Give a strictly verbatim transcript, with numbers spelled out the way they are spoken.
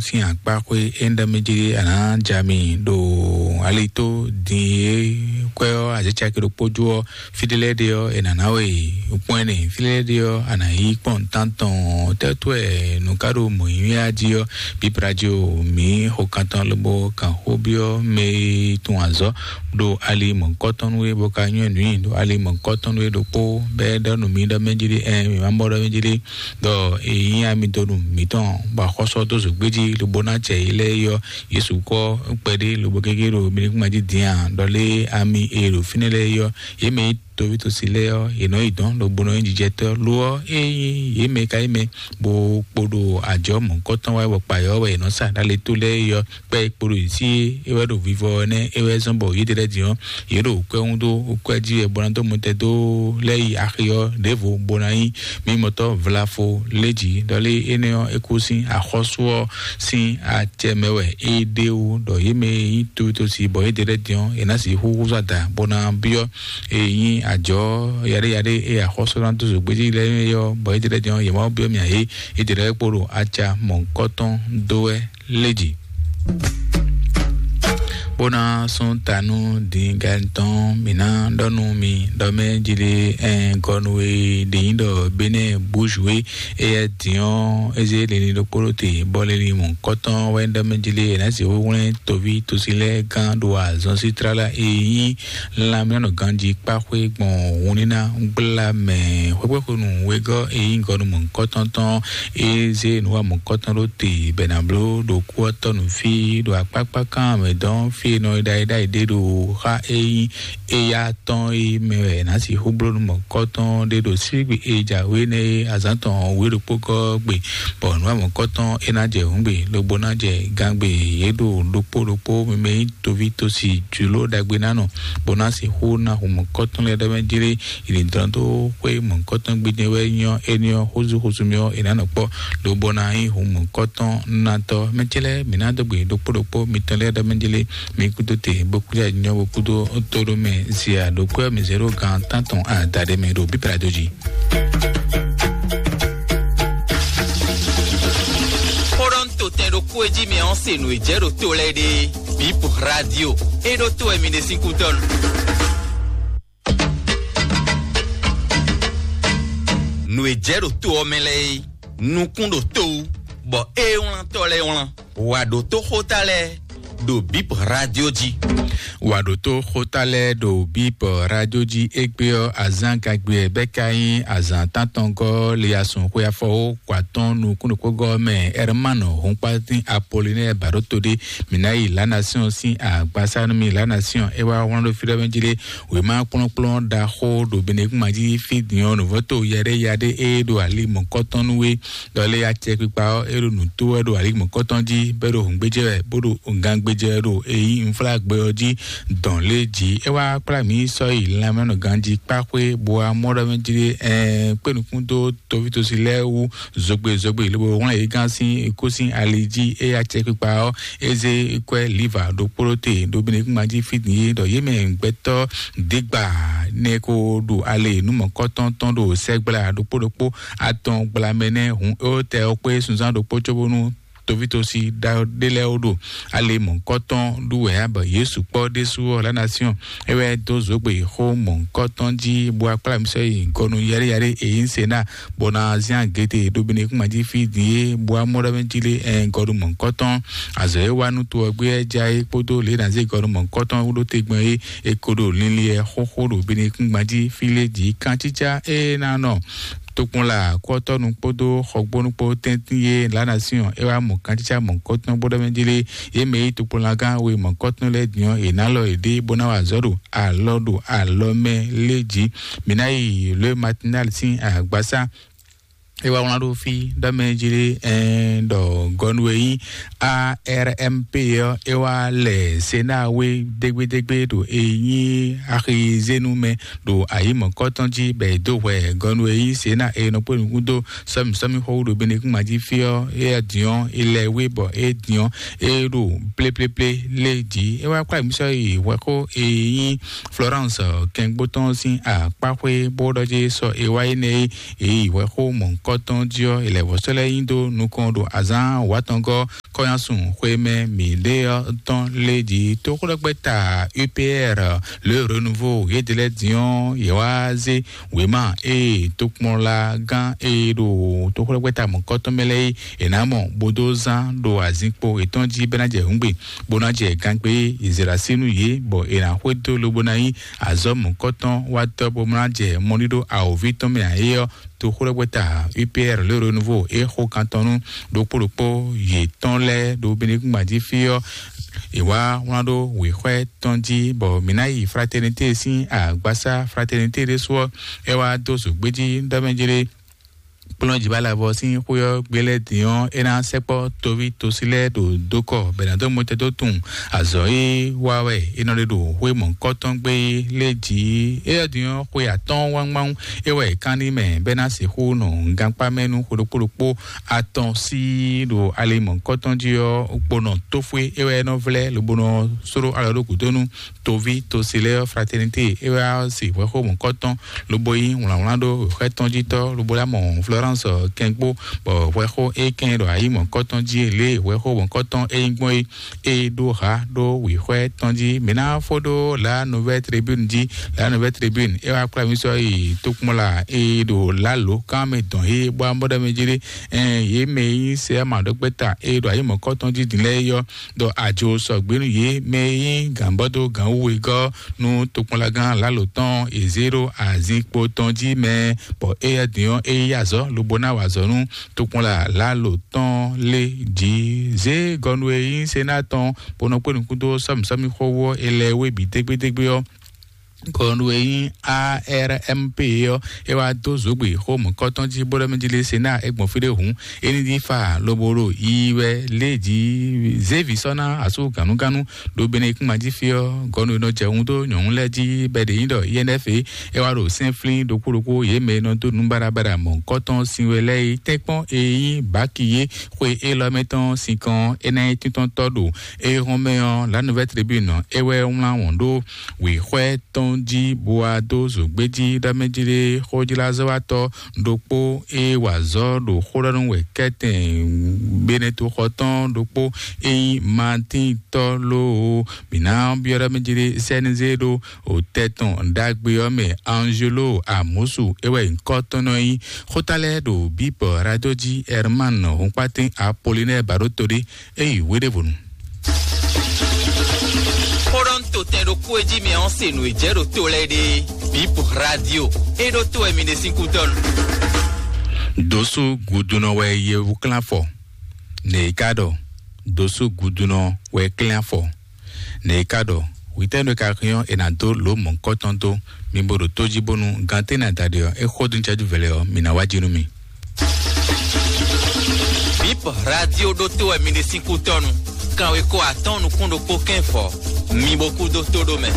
sín akpáxwé é ń ɖɔ mɛ jí a nǎ ja mi ɖo ali tó din e kwɛ́ ɔ́ azécaki ɖokpó jó ɔ́, fí ɖé lɛ́ɛ ɖe ɔ́, è nǎ ná we kpɔ́n ɛnɛ, fí lɛ́ɛ ɖe ɔ́, a nǎ yí kpɔ́n nǔtántɔn tɛ́tú wɛ nǔ ká ɖo mɔ̌ nyínyá jí ɔ́, bíbradio mǐ xo kantɔn lobo kan xó byɔ́ mɛ e tunwun azɔ̌ ɖo ali mɔ̌hunkɔtɔn nú we, bó ka nywɛ́ nǔ nyi ɖo ali mɔ̌hunkɔtɔn nú we ɖokpó, bɔ é ɖɔ nú mǐ ɖɔ mɛ jí ɖé, ɛɛ, mǐ ma mɔ ɖɔ mɛ jí ɖé, ɖɔ è nyí ami dó nú mǐtɔn, bɔ axɔ́sú ɔ́ dó zǒgbéjí lobo ná acɛ yě lɛ́ɛ é ɔ́, Yesu kɔ kpɛɖé lobo gégé ɖo mǐnikúnmɛ jí din a? Ɖɔ lé ami e ɖo fínɛ́ lɛ́ɛ é ɔ́, yě mɛ e tovítɔ́si lɛ́ɛ ɔ́, yě nɔ yi dɔ̌n lobo nɔ nyí jijɛtɔ́. Lo ɔ́, ényí yě mɛ ka nyí mɛ bó kpo ɖo ajɔ̌ mɔ̌hunkɔtɔn wá wɛ, bɔ kpayɔ́ wɛ yě nɔ sa ɖó ali tó lɛ́ɛ é ɔ́, kpɛ́ e kpo ɖo yě sí é, é wɛ ɖo vivɔ ɔ́ nɛ́, é wɛ zɔ́n bɔ yě ɖe lɛ́ɛ din ɔ́, yě ɖo kwɛ́ húndó kwɛ́ jí wɛ bó ná dó mɔtɛn dó lɛ́ yi axi ɔ́ ɖěvo bó ná nyí mímɔtɔ́ vlafo lé jǐ. Ɖɔ lé énɛ́ ɔ́, é kú sín axɔ́sú ɔ́ sín acɛ mɛ wɛ é ɖe wú, ɖɔ yě mɛ e nyí tovítɔ́si bɔ yě ɖe lɛ́ɛ din ɔ́, è nǎ sixú húzú ada bó ná byɔ́ e nyí ajɔ̌ yaɖéyaɖé e axɔ́sú ná dó zǒgbéjí lɛ́ɛ é ɔ́, bɔ yě ɖe lɛ́ɛ din ɔ́, yě má byɔ́ mì ǎ é, yě ɖe lɛ́ɛ kpo ɖo aca mɔ̌hunkɔtɔn dó wɛ lé jǐ. Bó ná sún ta nú dǐngán tɔn, mǐ ná ɖɔ nú mi ɖɔ mɛ jí lé, ɛn gɔnu e ɖě nyí ɖɔ Benɛ́ búzhu é, éyɛ́ dǐn ɔ́, é zé linlin ɖokpó ɖó te, bɔ linlin mɔ̌hunkɔtɔn wɛ ɖɔ mɛ jí lé, è nǎ sixú hwlɛ́n toví tosi lɛ́ɛ gán ɖo azɔn sí tlala e nyí lanmɛnɔ ganjí kpáxwé gbɔn hunníná gbla mɛ xwéxwéxwenu wegɔ́ e nyí gɔnu mɔ̌hunkɔtɔn tɔn, é zé nǔ wa mɔ̌hunkɔtɔn ɖó te bɛ̌ ná bló ɖo kú ɔ́ tɔ́ nǔ fí ɖo akpákpá kan mɛ dɔn fí e nɔ ɖaɖaɖa ɖe ɖo xa e nyí éyá tɔn e mɛ wɛ è nǎ sixú bló nú mɔ̌hunkɔtɔn ɖé ɖo sígbe e jǎwe nɛ́ e azǎn tɔn wě ɖokpó gɔ́ gbe, bɔ nǔ wa mɔ̌hunkɔtɔn é ná jɛ hǔngbe lobo ná jɛ gangbe yě ɖo ɖokpó ɖokpó mɛ e nyí toví tosi jlǒ ɖagbe ná nɔ, bó ná sixú ná hu mɔ̌hunkɔtɔn lɛ́ɛ ɖɔ mɛ jlé yi ní dɔn dó xwé mɔ̌hunkɔtɔn gbídɛ́ wɛ nyɔ́ éní ɔ́ xózú xózú mì ɔ́ è nǎ nɔ kpɔ́, lobo ná nyí hu mɔ̌hunkɔtɔn nátɔ́. Mɛ ce lɛ́ɛ mǐ ná dó gbe ɖokpó ɖokpó mitɔn lɛ́ɛ ɖɔ mɛ jlé, mi kúdó te bó kúdó nyɔ́ bó kúdó tóɖó mɛ zia ɖokpó ɔ́ mi zé ɖó gan tántɔn adaɖé mɛ ɖo bíbélà dó jí. Xó ɖɔ ń to tɛn ɖokpó e jí mi ɔ́ se nǔ e jɛ ɖo to lɛ́ɛ ɖe. Bip radio. E ɖo to wɛ mi ɖe sín kútɔ́ nu. Nǔ e jɛ ɖo to ɔ́ mɛ lɛ́ɛ é, nukún ɖo to wú, bɔ é wlán tɔ́ lɛ́ɛ wlán. Wǎ ɖótó xóta lɛ́ɛ ɖo Bip radio jí. Wǎ ɖótó xóta lɛ́ɛ ɖo Bip radio jí. Égbé ɔ́, azǎn gagbe ɛ bɛ́ ka nyí azǎn tántɔngɔ́ le asun xwe afɔwó kɔ atɔ́ɔ́n nukúnnukpógɔ́ mɛ Ɛrmánɔ Hɔnkpátín Apolinɛ́ɛ Bǎɖóto ɖé. Mǐ ná yi Lǎnasíɔn sín agbasá nú mì. Lǎnasíɔn é wá wlán ɖó fí ɖɔ mɛ jí lé, wěma kplɔ́nkplɔ́n ɖaxó ɖo Benegúnma jí fí din ɔ́, nǔvɔ́to yaɖéyaɖé e ɖo ali mɔ̌kɔtɔn nú we. Ɖɔ lé acɛkpikpa ɔ́, é ɖo nǔ tó wɛ ɖo ali mɔ̌kɔtɔn jí, bɔ é ɖo hǔngbéjɛ wɛ, bó ɖo gangbéjɛ wɛ ɖo e nyí unflágbɛ ɔ́ jí dɔn lé jí. É wá kplá mǐ sɔ́ yi lanmɛnɔ ganjí kpáxwé, bó wá mɔ ɖɔ mɛ jí ɖé, ɛɛ, kpé nukún dó toví tosi lɛ́ɛ wú zogbe zogbe, lobo wlán yě gán sín kú sín ali jí. É acɛkpikpa ɔ́, é zé kwɛ́ liva ɖokpó ɖó te ɖo Benegúnma jí fí din é, ɖɔ yě mɛ gbɛtɔ́ dǐgba nɛ ko ɖo ale nú mɔ̌kɔtɔn tɔn ɖo sɛgbla ɖokpó ɖokpó atɔn gblamɛ nɛ́ hun éwó tɛ ɔ́ kpé sunzán ɖokpó cóbónú tovítɔ́si ɖé lɛ́ɛ wó ɖo ale mɔ̌kɔtɔn ɖu wɛ ǎ, bɔ Yesu kpɔ́ ɖésú ɔ́, Lánasiɔn é wɛ dó zǒgbe xó mɔ̌kɔtɔn jí, bó wá kplá mì sɔ́ yi gɔnu yaɖéyaɖé e nyí Senáa, bó ná zán agěte ɖo Benekúnma jí fí din é, bó wá mɔ ɖɔ mɛ jí lé ɛn gɔnu mɔ̌kɔtɔn. Azɔ̌ e wá nú to ɔ́ gbé ɔ́ já é kpódó lě e ná zé gɔnu mɔ̌kɔtɔn wú ɖó te gbɔn é, é ko ɖo linlin ɛ xóxó ɖo Benekúnma jí fí lé jǐ. Kancícá e ná nɔ tokpɔnla kɔtɔnu kpódó xɔgbónu kpó tɛ́ntin e Lánasiɔn é wá mɔ kancícá mɔ̌kɔtɔn bó ɖɔ mɛ jí lé, yě mɛ yí tokpɔnlagán we mɔ̌kɔtɔn lɛ́ɛ din ɔ́, è nǎ lɔ yěɖée bó ná wa azɔ̌ ɖo alɔ ɖo alɔ mɛ lé jí. Mǐ ná yi Le Matinal sín agbasá é wá wlán ɖó fí ɖɔ mɛ jí lé, ɛɛ, ɖɔ gɔnu e nyí A R M P ɔ́ é wá lɛ Senáa wé dégbédégbé ɖo e nyí axizénu mɛ ɖo ayǐ mɔ̌kɔtɔn jí, bɔ è dó hwɛ gɔnu e nyí Senáa e nɔ kpó nukún dó sɔ́mì sɔ́mì xɔ wú ɖo Benekúnma jí fí ɔ́, é din ɔ́, é lɛ wé bɔ é din ɔ́, é ɖo pléplé lé jí. É wá kplá mǐ sɔ́ yi hwɛxó e nyí Florence kɛngbó tɔn sín akpáxwé bó ɖɔ jí sɔ é wá énɛ́ é, é yi hwɛxó mɔ̌hunkɔtɔn jí ɔ́, è lɛ vɔ̌ sɔ́ lɛ́ nyi dó nukɔn ɖo azǎn wǎtɔngɔ́ Kɔnyasun xwemɛ mǐɖée ɔ́ tɔn lé jí tóxwlɛ́gbɛ́ta U P R le Renouveau yédelɛ́ din ɔ́, yě wá zé wěma ée tokpɔnlagán e ɖo tóxwlɛ́gbɛ́ta mɔ̌kɔtɔn mɛ lɛ́ɛ é è nǎ mɔ bó dó zán ɖo azinkpo yětɔn jí bɔ é ná jɛ hǔngbe, bó ná jɛ gangbé Izlayɛ́li nú yě, bɔ è nǎ xwedó lobo ná nyí azɔ̌ mɔ̌kɔtɔn wátɔ́ bó ná jɛ mɔɖíɖó awǒvi tɔn mɛ ǎ é ɔ́, toxwlɛ́gbɛ́ta U P R le Renouveau é xo kan tɔn nú ɖokpó ɖokpó yětɔn lɛ́ɛ ɖo Benekúngban jí fí ɔ́, è wá wlán ɖó wěxwɛ́ tɔn jí, bɔ mǐ ná yi Fraternité sín agbasá Fraternité ɖésú ɔ́, é wá dó zǒgbéjí ɖɔ mɛ jlé kplɔ́njǐbalavɔ sín xwé ɔ́ gbé lɛ́ɛ din ɔ́, é ná sɛkpɔ́ toví tosi lɛ́ɛ ɖo dókɔ bɔ è nǎ dó mɔtɛn dó tunwun azɔ̌ e wa wɛ è nɔ ɖe ɖo xwé mɔ̌hunkɔtɔn gbé lɛ́ɛ jí. Éyɛ́ din ɔ́, xwe atɔ́ɔ́n wángbáwún é wɛ è kán n'i mɛ bɔ é ná sixú nɔ gankpá mɛ nú xwe ɖokpó ɖokpó atɔn sí ɖo ali mɔ̌hunkɔtɔn jí ɔ́, gbonɔ tófwé é wɛ é nɔ vlɛ́ lobo nɔ sóɖó alɔ ɖó gǔdo nú toví tosi lɛ́ɛ ɔ́. Fraternité é wá se hwɛxó mɔ̌kɔtɔn lobo nyí wlǎnwlán ɖó wěxwɛ́ tɔn jí tɔ́ lobo lá mɔ Florence kɛngbó, bɔ hwɛxó é kɛn ɖɔ ayǐ mɔ̌kɔtɔn jí lě hwɛxó mɔ̌kɔtɔn é nyí gbɔn é é ɖó ha ɖó wěxwɛ́ tɔn jí. Mǐ ná fó ɖó La Nouvelle Tribune jí. La Nouvelle Tribune é wá kplá mì sɔ́ yi tokpɔnla é ɖo lǎlo kán mɛ dɔn é bó amɔ́ ɖɔ mɛ jí ɖé. Ɛn yě mɛ e nyí sɛ ama ɖɔkpɛ́ta é ɖo ayǐ mɔ̌kɔtɔn jí din lɛ́ɛ é yɔ́ ɖɔ ajo sɔgbe nú yě mɛ e nyí gǎnbɔ́dó gǎnwúwegɔ́ nú tokpɔnlagán lǎlo tɔn è zě ɖo azinkpo tɔn jí mɛ, bɔ éyɛ́ din ɔ́, é yí azɔ̌ lobo ná wa azɔ̌ nú tokpɔnla lǎlo tɔn lé jí. Zě gɔnu e nyí Sená tɔn bó nɔ kpé nukún dó sɔ́mǐsɔ́mí xó wú ɔ́, è lɛ wé bǐ dégbédégbé ɔ́, gɔnu e nyí A R M P ɔ́, é wá dó zǒgbè xó mɔ̌kɔtɔn jí bó ɖɔ mɛ jí lé Sená é gbɔn fí ɖé hǔn, é ní ɖi fa lobo ɖo yiyi wɛ lé jí. Zěvi sɔ́ ná asú gǎnúgánú ɖo Benekúngban jí fí ɔ́, gɔnu e nɔ jɛ hun dó nyɔ̌nu lɛ́ɛ jí bɔ è ɖe nyí ɖɔ I N F é wá ɖo sɛ́nflín ɖokpó ɖokpó yě mɛ e nɔ dó nǔ baɖabaɖa mɔ̌hunkɔtɔn sin we lɛ́ɛ é tɛ́nkpɔ́n e nyí bǎki é xwe élɔ́ mɛ tɔn sinkɔn é ná nyí tíntɔ́ntɔ́ ɖo é hɔn mɛ ɔ́, La Nouvelle Tribune é wɛ wlán wɔn ɖó wěxwɛ́ tɔn jí bó wá dó zǒgbéjí ɖɔ mɛ jí ɖé xójlázɔ́watɔ́ ɖokpó e wa azɔ̌ ɖo xó ɖɔ nú wɛ kɛ́tɛn Benetoxɔ tɔn ɖokpó e nyí Matín tɔ́ lóó. Mǐ ná byɔ́ ɖɔ mɛ jí ɖé sɛ́nizé ɖó o tɛ́ tɔn ɖagbe ɔ́ mɛ Angelo Amosu é wɛ nyǐkɔ tɔn nɔ nyí. Xóta lɛ́ɛ ɖo Bíbɔ Radio jí Herman Hunkpatín Apollinaire Baɖóto ɖé é yi wéɖévonu. Xóɖɔ́ntotɛn ɖokpó e jí mi ɔ́ se nǔ e jɛ ɖo to lɛ́ɛ ɖe Bíbɔ Radio é ɖótó wɛ mi ɖe sín kútɔ́nu. Dǒsú gudunɔ wɛ yewuklánfɔ, nɛ̌ é ka ɖɔ? Dǒsú gudunɔ wɛ klɛ́n afɔ. Nɛ̌ é ka ɖɔ? Hwitɛ́nu e ka hɛn ɔ́, è nǎ dó lǒ mɔ̌hunkɔtɔn dó. Mi bo ɖo tó jí bónú gantɛ́ e nǎ da ɖe ɔ́, é xo dó ncɛ́jú vɛ̌ lɛ́ɛ ɔ́, mǐ ná wá jí nú mi. Bip Radio ɖótó wɛ mi ɖe sín kútɔ́nu. Kanwekó atɔ́ɔ́n nukún ɖokpó kɛ́n fɔ. Mi bo kú dó tó ɖó mɛ.